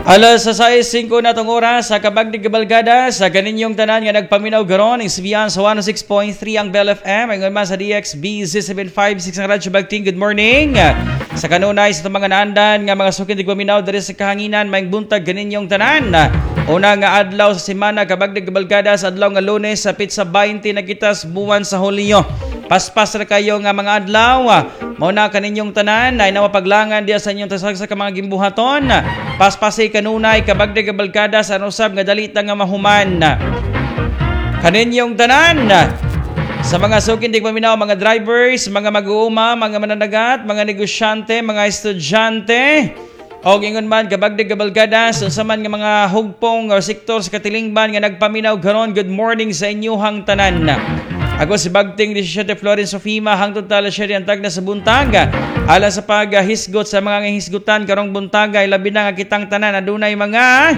Alas sa 6:05 na tong oras sa kabagdig kabalgada sa kaninyong tanan nga nagpaminaw garon ang CBN sa 106.3 ang Bell FM, ingon man sa DXB Z756 ang Radyo Bagting. Good morning. Sa kanunay sa itong mga naandan nga mga sukin tigpaminaw diri sa kahanginan, maayong buntag kaninyong tanan. Una nga adlaw sa semana, kabagdig kabalgada, sa adlaw nga Lunes sa petsa 20 na kita sa buwan sa Hulyo. Paspas ra kayo nga mga adlaw. Mao na kaninyong tanan ay nawapaglangan diya sa inyong tasag sa mga gimbuhaton. Paspasi kanunay, kabagdig kabalgada, sa usab nga dali ta nga mahuman. Kaninyong tanan sa mga sukin di paminaw, mga drivers, mga mag-uuma, mga mananagat, mga negosyante, mga estudyante, o ingon man, kabagdig kabalgada, unsa man nga mga hugpong o sektor sa katilingban nga nagpaminaw karon, good morning sa inyuhang tanan. Ako si Bagting 17 Florence Sofima, hangtod tala siya ang tagna sa buntag. Alang sa paghisgot sa mga hisgutan karong buntaga, labi na nga kitang tanan adunay mga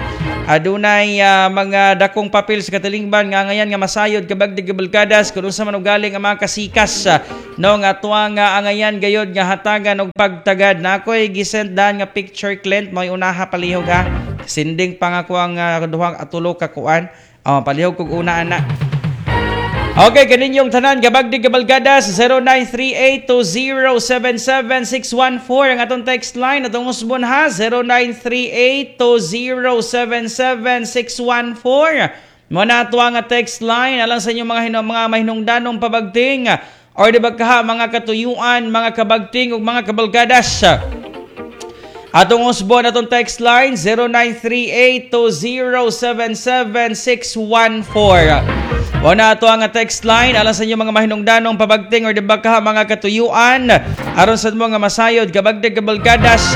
dakong papel sa katilingban nga angayan nga masayod, kabagdig kabalkadas, kung unsa man ugaling ang mga kasikas, no, nga tuwa nga angayan gayod nga hatagan og pagtagad. Na ako'y gisend dan nga picture, Clint, mo'y unaha palihog ha. Sending pa nga ko ang duhang atulo ka kuan. Oh, palihog kog una ana. Okay, kaninyong tanan, gabagdig kabalgada, sa 0938-2077614 ang atong text line. Atong usbon ha, 0938-2077614. Mo na ato ang text line alang sa inyong mga mahinungdanong pabagting or di ba kaha mga katuyuan, mga kabagting ug mga kabalgadas. Atong usbon atong text line 0938-2077614. Wala ato ang text line alang sa inyong mga mahinungdanong pabagting or di ba kaha mga katuyuan aron sad mo nga masayod, kabagdig kabalgadas,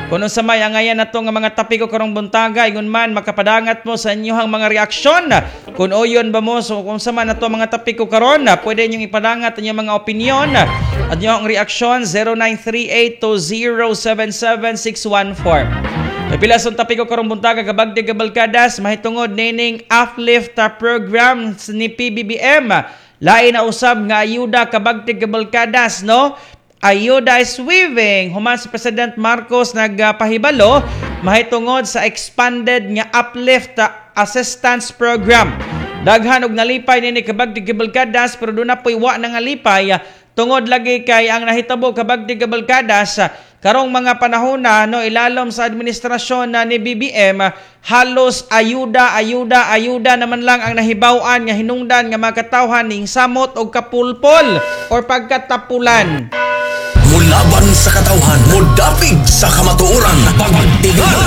kung unsa may angayan nato nga mga tapiko karong buntaga, ingon man makapadangat mo sa inyong mga reaksyon kung uyon ba mo. So kung sa man nato mga tapiko karon, pwede inyong ipadangat ang inyong mga opinion at inyong reaksyon 0938-2077614. Pila sa tapiko karong buntaga, kabagdig kabalkadas, mahitungod nining uplift program ni PBBM. Lain na usab nga ayuda, kabagdig kabalkadas, no? Ayuda is weaving. Human si President Marcos nagpahibalo mahitungod sa expanded nga uplift assistance program. Daghan og nalipay nini, kabagdig kabalkadas, pero doon na po'y wa na nga lipay tungod lagi kay ang nahitabo, kabagdig kabalkadas, karong mga panahon na, no, ilalom sa administrasyon na ni BBM, halos ayuda, ayuda, ayuda naman lang ang nahibaw-an nga hinungdan nga makatawhan ning samot og kapulpol or pagkatapulan. Mulaban sa katawhan, mudapig sa kamatuoran, pagtingal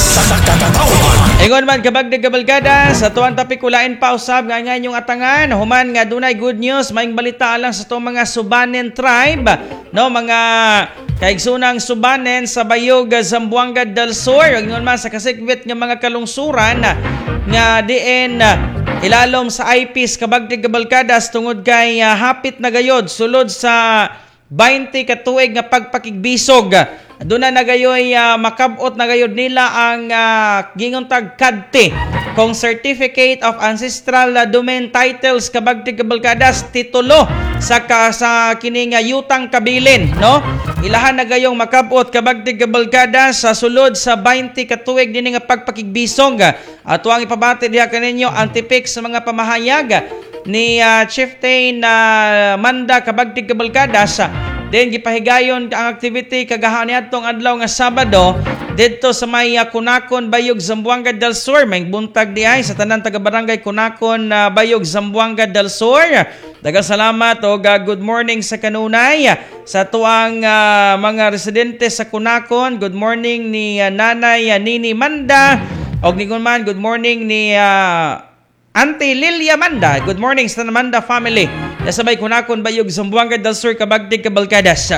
sa katawhan. Ingon man, kabagdig kabalgada, sa tuwang tapik ulain pa usab nga nga inyong atangan human nga dunay good news, maayong balita lang sa itong mga Subanen tribe, no, mga kaigsunang Subanen sa Bayog, Zamboanga del Sur, ingon man sa kasikbit nga mga kalungsuran nga diin ilalom sa IPs, kabagdig kabalkadas, tungod kay hapit na gayod sulod sa 20 ka tuig nga pagpakigbisog. Doon na nagayoy makabot na gayod nila ang gingon tag CADT kung Certificate of Ancestral Domain Titles, kabagtig kabalkadas, titulo sa kini nga yutang kabilin, no? Ilahan na gayong makabot, kabagtig kabalkadas, sa sulod sa 20 ka tuig dinhi nga pagpakigbisog. Ato ang ipabati diha kaninyo ang tipik sa mga pamahayag ni Chieftain Manda, kabagtig kabalkadas. Then gipahigayon ang activity kagahapon niadtong adlaw nga Sabado didto sa may Kunakon, Bayog, Zamboanga del Sur. May buntag di ay sa tanan taga barangay Kunakon, Bayog, Zamboanga del Sur. Daghang salamat og good morning sa kanunay sa tuang mga residente sa Kunakon. Good morning ni Nanay Nini Manda og ningon man good morning ni Auntie Lilia Manda. Good morning sa Manda family. Nasabay Kunakon, Bayog, Zamboanga del Sur, kabagdig kabalkadas.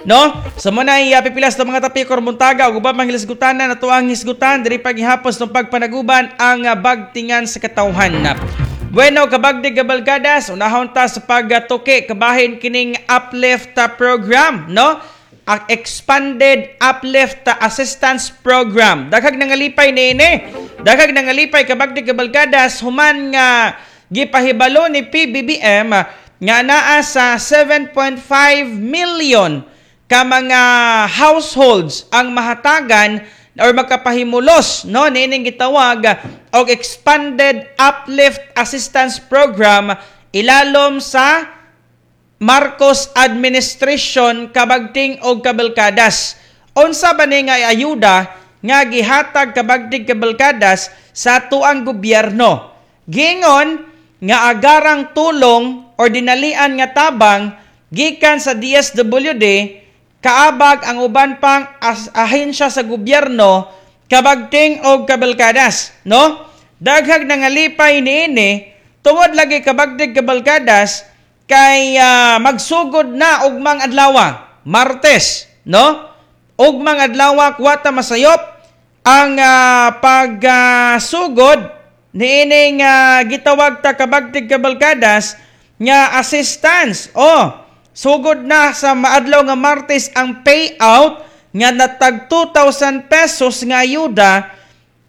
No? Sa so, muna pipilas ng mga tapikor buntaga ug uban pang hisgutanan ato ang hisgutan diri paghihapos ng pagpanaguban ang bagtingan sa katawhan. Bueno, kabagdig kabalkadas, unahon ta sa pagtuki kabahin kining uplift program, no? Ang expanded uplift assistance program. Daghag nangalipay niini. Daghag nangalipay, kabagdig kabalkadas, human nga gipahibalo ni PBBM nga naa sa 7.5 million ka mga households ang mahatagan. or makapahimulos, no, niining gitawag og Expanded Uplift Assistance Program ilalom sa Marcos administration, kabagting og kabalkadas. Unsa ba ni nga ayuda nga gihatag, kabagting, kabalkadas, sa atuang gobyerno? Giingon nga agarang tulong or dinalian nga tabang gikan sa DSWD kaabag ang uban pang ahensya sa gobyerno, kabagting og kabalkadas, no? Daghag nangalipay niini tungod lagi, kabagting, kabalkadas, kay magsugod na ugmang adlaw, Martes, no? Ugmang adlaw, kwata masayop ang pagsugod niining gitawag ta, kabagting, kabalkadas, nga assistance. Oh, sugod na sa maadlaw nga Martes ang payout nga natag 2,000 pesos nga ayuda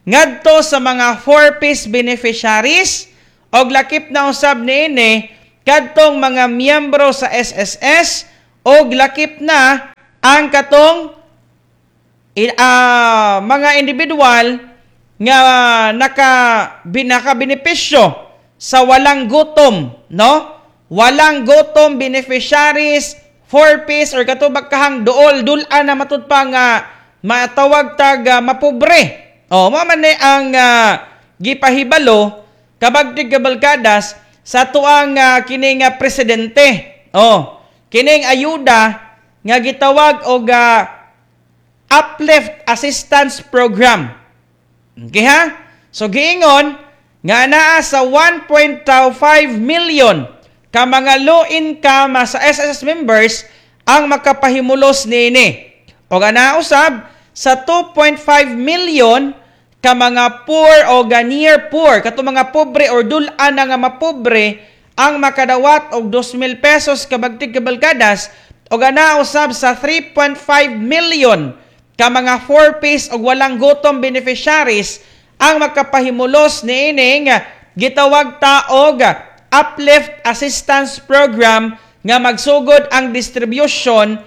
ngadto sa mga 4Ps beneficiaries og lakip na usab niini kadtong mga miyembro sa SSS og lakip na ang katong mga individual nga nakabenepisyo sa walang gutom, no? Walang gutom beneficiaries, 4Ps or katubag kahang duol dul-an na matud pa nga matawag tag mapobre. Oh, mao man ni ang gipahibalo, kabagtig, kabalkadas, sa tuang kining presidente. Oh, kining ayuda nga gitawag og Uplift Assistance Program. Okay ha? So giingon nga naa sa 1.5 million ka mga low income sa SSS members ang makapahimulos niini. O ana usab sa 2.5 million ka mga poor o ga near poor, kato mga pobre or dul-an na nga mapobre ang makadawat og 2,000 pesos, kabagtig, kabalkadas, o ana usab sa 3.5 million ka mga 4Ps og walang gutom beneficiaries ang makapahimulos niining gitawag ta og Uplift Assistance Program nga magsugod ang distribution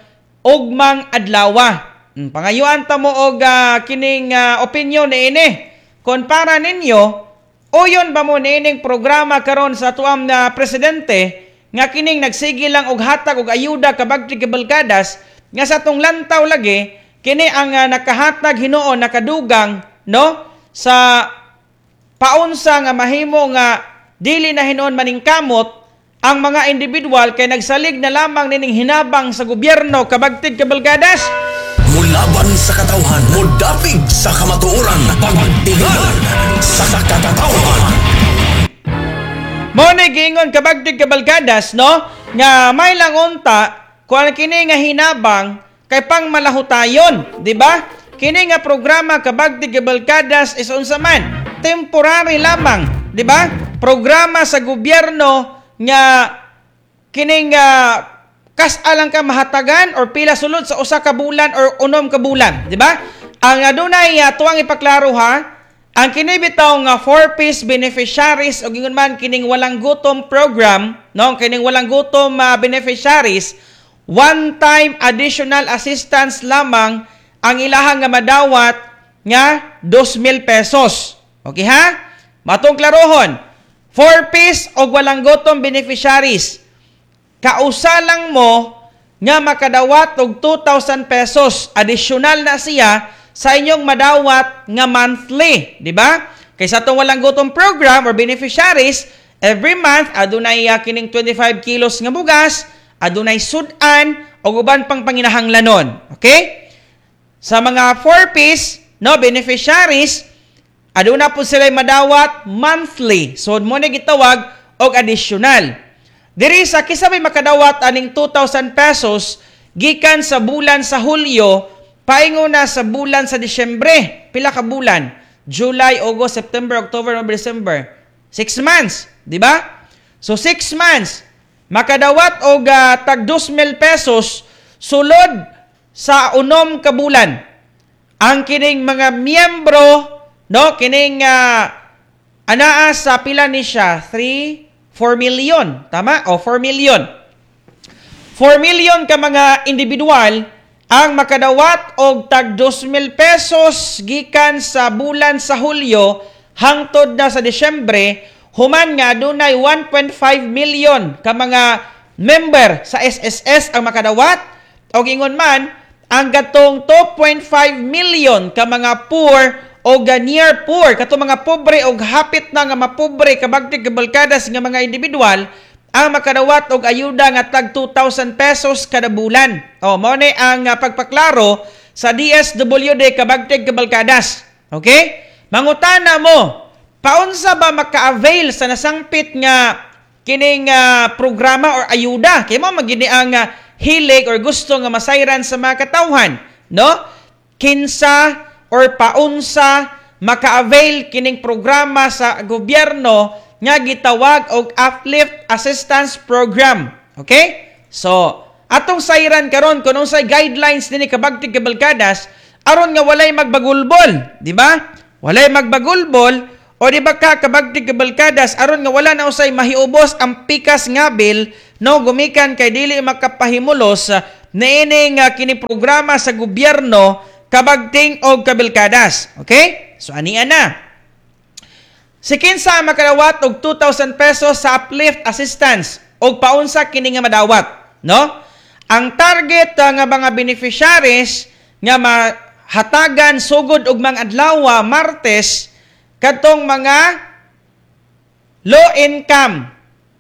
ugmang adlawa. Pangayuan ta mo og kining opinion niini. Kon para ninyo, uyon ba mo niining programa karon sa tuam na presidente nga kining nagsige lang og hatag og ayuda, kabagti, kabalkadas, nga sa atong lantaw lagi kini ang nakahatag hinuon, nakadugang, no, sa paunsa nga mahimo nga dili na hinuon maningkamot ang mga individual kay nagsalig na lamang nining hinabang sa gobyerno, kabagtig, kabalkadas? Mulaban sa katawhan, mudapig sa kamatuoran, pagtingal sa katawhan. Mo ni giingon, kabagtig, kabalkadas, no, nga may lang unta kung kini nga hinabang kay pang malahutayon, di ba? Kini nga programa, kabagtig, kabalkadas, is unsa man, temporary lamang, di ba? Programa sa gobyerno nga kining kas-a lang ka mahatagan or pila sulod sa 1 ka bulan or 6 ka bulan, di ba? Ang adunay tuwang ipaklaro ha, ang kini bitaw nga 4Ps beneficiaries o ingon man kining walang gutom program, no, kining walang gutom beneficiaries, one time additional assistance lamang ang ilahang nga madawat nga 2,000 pesos. Okay ha? Matong klarohon, 4Ps og walang gutom beneficiaries, kausa lang mo nga makadawat og 2,000 pesos. Additional na siya sa inyong madawat nga monthly, di ba? Kay sa atong walang gutom program or beneficiaries, every month adunay kining 25 kilos nga bugas, adunay sudan og uban pang panginahanglanon. Okay? Sa mga 4Ps, no, beneficiaries, aduna po sila madawat monthly. So mo ni gitawag og additional. Diri sa kinsa may makadawat aning 2,000 pesos gikan sa bulan sa Hulyo paingon na sa bulan sa Disyembre. Pila ka bulan? July, August, September, October, November, December. 6 months, di ba? So 6 months makadawat og tag 2,000 pesos sulod sa 6 ka bulan. Ang kining mga miyembro, no, kining anaa sa pila ni siya? 3 4 million, tama? O 4 million. 4 million ka mga individual Ang makadawat og tag 2,000 pesos gikan sa bulan sa Hulyo hangtod na sa Disyembre, human nga adunay 1.5 million ka mga member sa SSS ang makadawat, og ingon man ang gatong 2.5 million ka mga poor o near poor, katong mga pobre og hapit na nga mapobre, kabagtig kabalkadas, nga mga individual ang makadawat og ayuda nga tag 2,000 pesos kada bulan. O mao ni ang pagpaklaro sa DSWD, kabagtig kabalkadas. Okay? Mangutana mo, paunsa ba maka-avail sa nasangpit nga kining programa or ayuda? Kay mao magini ang hilig or gusto nga masayran sa mga katawhan, no? Kinsa or paunsa maka-avail kining programa sa gobyerno nga gitawag og Uplift Assistance Program? Okay? So, atong sayran karon kung unsay guidelines dinhi, kabagtig kabalkadas, aron nga walay magbagulbol, di ba? Walay magbagulbol o di ba ka, kabagtig kabalkadas, aron nga wala na usay mahiubos ang pikas nga bill, no, gumikan kay dili makapahimulos niining kini programa sa gobyerno, kabagting og kabalkadas. Okay? So ania na. Si kinsa ang makadawat og 2,000 pesos sa Uplift Assistance og paunsa kini nga madawat, no? Ang target nga mga beneficiaries nga mahatagan sugod og mga adlaw Martes, kadtong mga low income,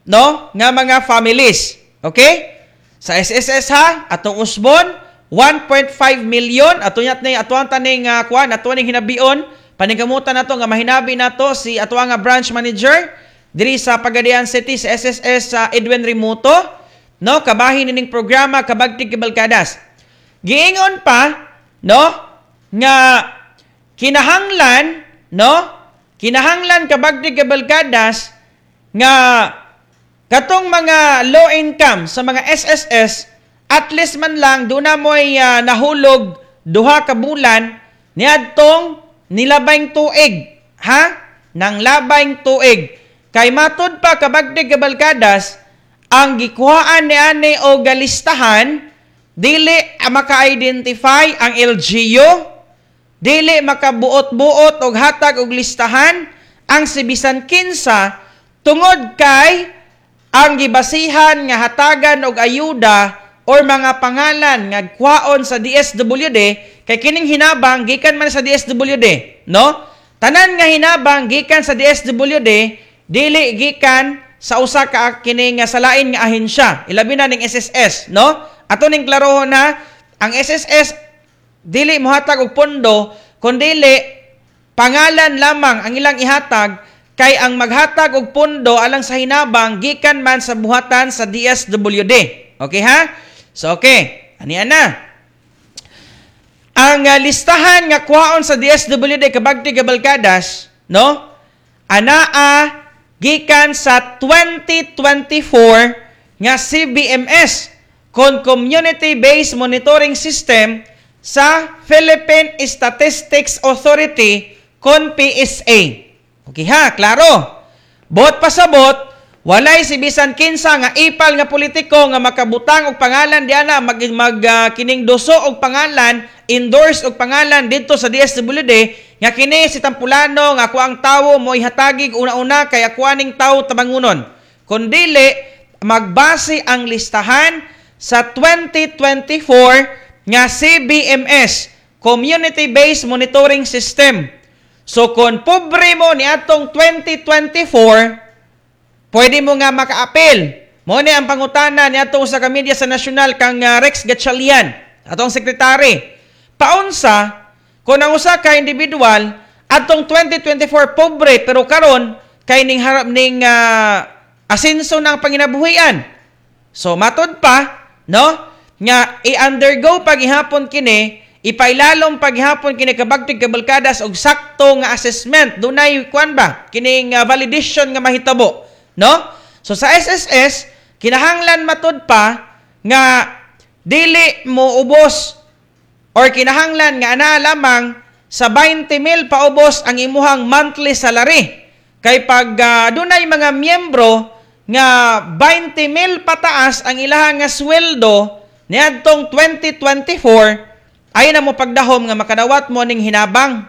no, nga mga families. Okay? Sa SSS ha, atong usbon 1.5 million ato nyat ni ato ang taning kuan, ato ning hinabion, paningkamutan nato nga mahinabi nato si ato nga branch manager diri sa Pagadian City sa SSS, sa Edwin Remoto, no, kabahin nining programa, kabagtig kabalkadas. Giingon pa, no, nga kinahanglan, no, kinahanglan, kabagtig kabalkadas, nga katong mga low income sa mga SSS, at least man lang duna mo'y nahulog 2 ka bulan niadtong nilabayng tuig, ha, nang labayng tuig. Kay matud pa, kabagtig kabalkadas, ang gikuhaan ni ani o galistahan, dili maka-identify ang LGU, dili makabuot-buot og hatag og listahan ang si bisan kinsa, tungod kay ang gibasihan nga hatagan og ayuda or mga pangalan nga kwaon sa DSWD, kay kining hinabang gikan man sa DSWD, no? Tanan nga hinabang gikan sa DSWD, dili gikan sa usa ka kini nga sa lain nga ahensya, ilabi na ning SSS, no? Ato ning klarohon na ang SSS dili mohatag og pondo, kundili pangalan lamang ang ilang ihatag, kay ang maghatag og pondo alang sa hinabang gikan man sa buhatan sa DSWD. Okay ha? So okay, anian na. Ang listahan nga kuhaon sa DSWD, kabagti kabalkadas, no? Anaa gikan sa 2024 nga CBMS kon Community Based Monitoring System sa Philippine Statistics Authority kon PSA. Okay ha, klaro. Bot pasabot, walay si bisan kinsa nga ipal nga politiko nga makabutang og pangalan diana, mag, mag kining duso og pangalan, endorse og pangalan didto sa DSWD nga kini si Tampulano nga ako ang tawo mo ihatagig una-una kay ako aning tawo tabangunon. Kun dili, magbase ang listahan sa 2024 nga CBMS, Community Based Monitoring System. So kung pobre mo ni atong 2024, pwede mo nga maka-appeal. Mo ni ang pangutana ni atong sa media sa nasyonal kang Rex Gatchalian, atong sekretary. Paunsa kung ang usa ka individual atong 2024 pobre, pero karon kay ning harap ning asenso ng panginabuhian? So matod pa, no, nga i-undergo paghihapon kini, ipailalom paghihapon kini, kabagtig kabalkadas, og sakto nga assessment, dunay kuan ba kining validation nga mahitabo, no? So sa SSS kinahanglan matud pa nga dili mo ubos or kinahanglan nga ana lamang sa 20 mil paubos ang imuhang monthly salary, kay pag dunay mga miyembro nga 20 mil pataas ang ilahang nga sweldo. Niadtong 2024, ay na mo pagdahom nga makadawat mo ning hinabang.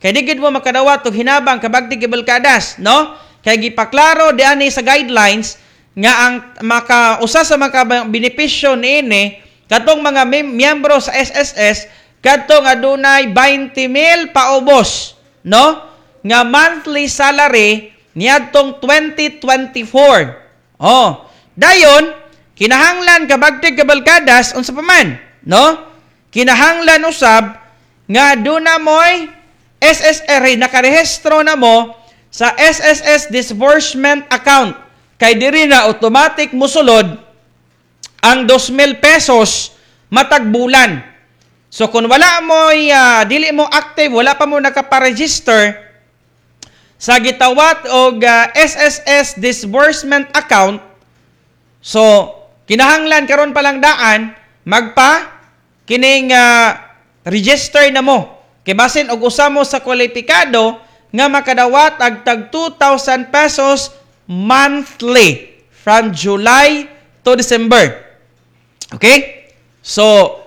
Kay di gid mo makadawat og hinabang, kabagti kabalkadas, no? Kay gipaklaro diani sa guidelines nga ang maka usa sa mga benepisyo niini katong mga miyembro sa SSS kadtong adunay 20,000 paubos, no? Nga monthly salary niadtong 2024. Oh, dayon kinahanglan, kabagtig kabalkadas, unsa pa man, no? Kinahanglan usab nga aduna moy SSR, nakarehistro na mo sa SSS disbursement account kay diri na automatic musulod ang 2,000 pesos matag bulan. So kung wala mo dili mo active, wala pa mo nakaparegister sa gitawat og SSS disbursement account, so kinahanglan karon pa lang daan magpa kining register na mo. Kay basin og usa mo sa kwalipikado nga makadawat og tag 2,000 pesos monthly from July to December. Okay? So,